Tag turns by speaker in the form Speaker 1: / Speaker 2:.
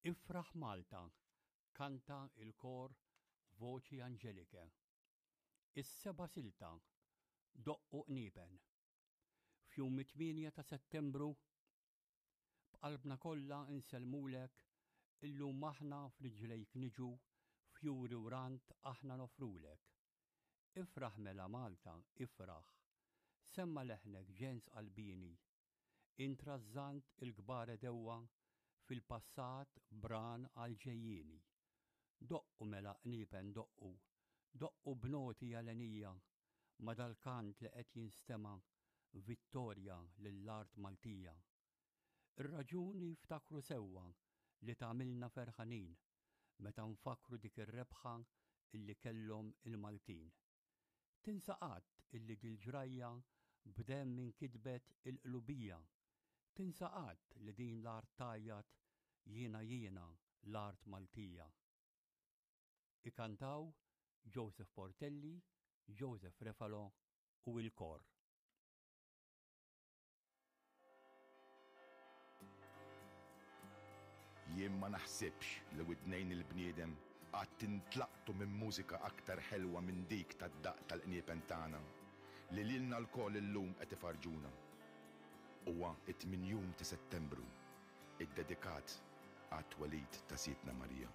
Speaker 1: Ifraħ Malta, kanta il-kor Voci Angeliche. Is-seba' silta, Doqqu qniepen. F'jum it-8 ta' Settembru, b'qalbna kollha nsellmulek, illum aħna f'riġlejk niġu, fjuri u rand aħna noffrulek. Ifraħ mela Malta, ifraħ. Semma' leħnek ġens qalbieni, Int rażżant il-kbar għedewwa fil-passat b'ran għall-ġejjieni. Doqqu mela qniepen doqqu, doqqu b'noti għalenija ma' dal-kant li qed jinstema' vittorja lill-art Maltija. Ir-raġuni ftakru sewwa li tagħmilna ferħanin meta nfakkru dik ir-rebħa illi kellhom il-Maltin. Tinsa qatt illi dil-ġrajja b'demm inkitbet il-qlubija. Tinsa qatt li din l-art tgħajjat jiena jiena l-art Maltija. Ikantaw Joseph Portelli, Joseph Refalo u il-kor.
Speaker 2: Jien ma naħsibx li widnejn il-bniedem qatt intlaqtu minn mużika aktar ħelwa minn dik tad-daqq tal-qniepen tagħna, li lilna lkoll illum qed ifarrġuna. Huwa t-tmien jum ta' Settembru, iddedikat għat-twelid ta' Sidtna Marija.